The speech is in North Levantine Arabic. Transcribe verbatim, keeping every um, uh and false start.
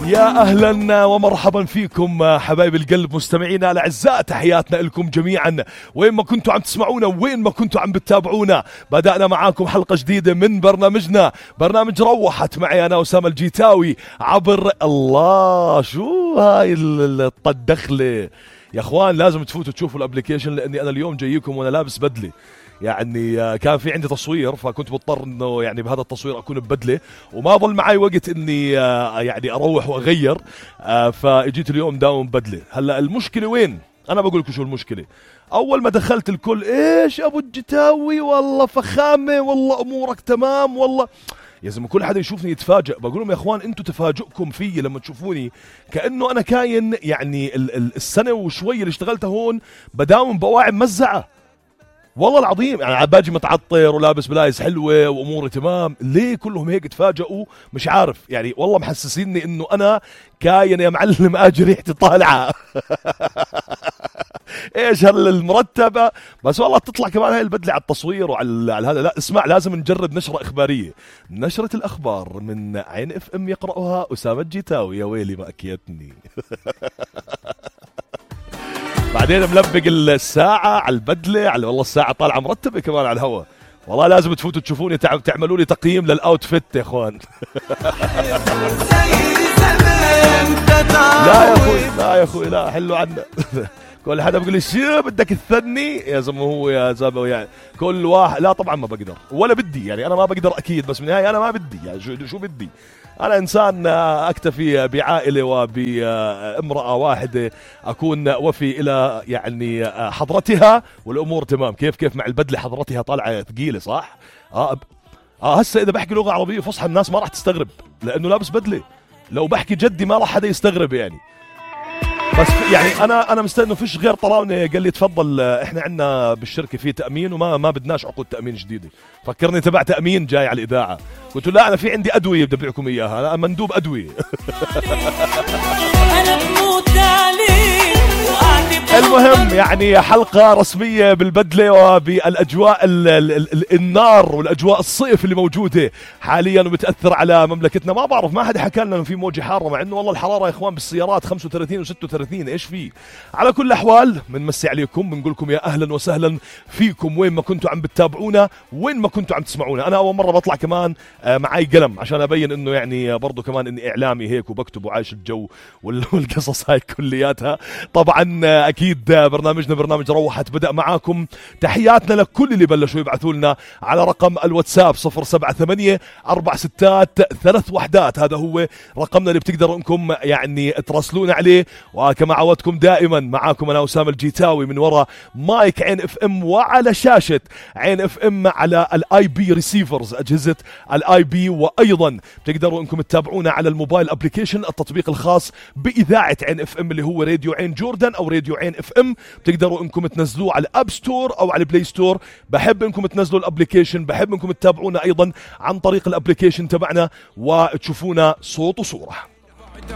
يا أهلا ومرحبا فيكم حبايب القلب مستمعينا الأعزاء، تحياتنا لكم جميعا وين ما كنتوا عم تسمعونا وين ما كنتوا عم بتتابعونا. بدأنا معاكم حلقة جديدة من برنامجنا، برنامج روحت، معي أنا أسامة الجيتاوي عبر الله. شو هاي الدخلة يا أخوان؟ لازم تفوتوا تشوفوا الابليكيشن، لأني أنا اليوم جايكم وأنا لابس بدلة. يعني كان في عندي تصوير فكنت مضطر انه يعني بهذا التصوير اكون ببدله، وما ضل معي وقت اني يعني اروح واغير، فاجيت اليوم داوم بدله. هلا المشكله وين؟ انا بقول لكم شو المشكله. اول ما دخلت الكل ايش ابو الجتاوي، والله فخامه، والله امورك تمام، والله يا زلمه كل حدا يشوفني يتفاجئ. بقول لهم يا اخوان انتم تفاجئكم فيي لما تشوفوني كانه انا كاين يعني السنه وشوي اللي اشتغلتها هون بداوم بواعي ممزعه، والله العظيم. يعني باجي متعطر ولابس بلايز حلوه واموري تمام، ليه كلهم هيك تفاجئوا؟ مش عارف يعني، والله محسسيني انه انا كاين يا معلم اجي ريحتي طالعه. ايش هالمرتبه بس، والله تطلع كمان هاي البدله على التصوير وعلى على هذا. لا اسمع، لازم نجرب نشره اخباريه، نشره الاخبار من عين اف ام يقراها اسامه الجيتاوي. يا ويلي ما اكيتني. بعدين ملبق الساعة على البدلة، على والله الساعة طالعة مرتبة كمان على الهواء. والله لازم تفوتوا تشوفوني، تعملوا لي تقييم للأوتفيت يا اخوان. لا يا اخوي، لا يا اخوي، لا حلو عنا. كل حدا بيقول لي شو بدك تثني يا زلمه، هو يا زلمه يعني كل واحد. لا طبعا ما بقدر ولا بدي، يعني انا ما بقدر اكيد، بس بالنهايه انا ما بدي. يعني شو شو بدي؟ أنا إنسان أكتفي بعائلة وبامرأة واحدة، أكون وفي إلى يعني حضرتها والأمور تمام. كيف كيف مع البدلة حضرتها طالعة ثقيلة صح؟ آه آه هسه إذا بحكي لغة عربية فصحى الناس ما راح تستغرب لأنه لابس بدلة. لو بحكي جدي ما راح حدا يستغرب يعني. بس يعني انا انا مستني انه فيش غير طلعوني قال لي تفضل، احنا عندنا بالشركه في تامين وما ما بدناش عقود تامين جديده. فكرني تبع تامين جاي على الاذاعه، قلت له لا انا في عندي ادويه بدي ابيعكم اياها، انا مندوب ادويه. المهم يعني حلقة رسمية بالبدلة وبالأجواء ال ال ال النار والأجواء الصيف اللي موجودة حاليا وبتأثر على مملكتنا. ما بعرف، ما حدا حكى لنا إنه في موجة حارة، مع إنه والله الحرارة يا إخوان بالسيارات خمسة وثلاثين وستة وثلاثين. إيش فيه؟ على كل الأحوال بنمسي عليكم، بنقول لكم يا أهلا وسهلا فيكم وين ما كنتوا عم بتتابعونا وين ما كنتوا عم تسمعونا. أنا أول مرة بطلع كمان معي قلم عشان أبين إنه يعني برضو كمان إني إعلامي هيك وبكتب وعايش الجو والقصص هاي كلياتها. طبعا أكيد برنامجنا برنامج روحت بدأ معاكم. تحياتنا لكل اللي بلشوا يبعثوا لنا على رقم الواتساب صفر سبعة ثمانية أربع ستات ثلاث وحدات. هذا هو رقمنا اللي بتقدروا انكم يعني تراسلونا عليه. وكما عودتكم دائما معاكم انا أسامة الجيتاوي من وراء مايك عين اف ام وعلى شاشة عين اف ام على الاي بي ريسيفرز، اجهزة الاي بي. وايضا بتقدروا انكم تتابعونا على الموبايل ابليكيشن، التطبيق الخاص باذاعة عين اف ام اللي هو راديو عين جوردن او راديو عين اف ام. بتقدروا انكم تنزلوه على الاب ستور او على البلاي ستور. بحب انكم تنزلوا الابليكيشن، بحب انكم تتابعونا ايضا عن طريق الابليكيشن تبعنا وتشوفونا صوت وصورة.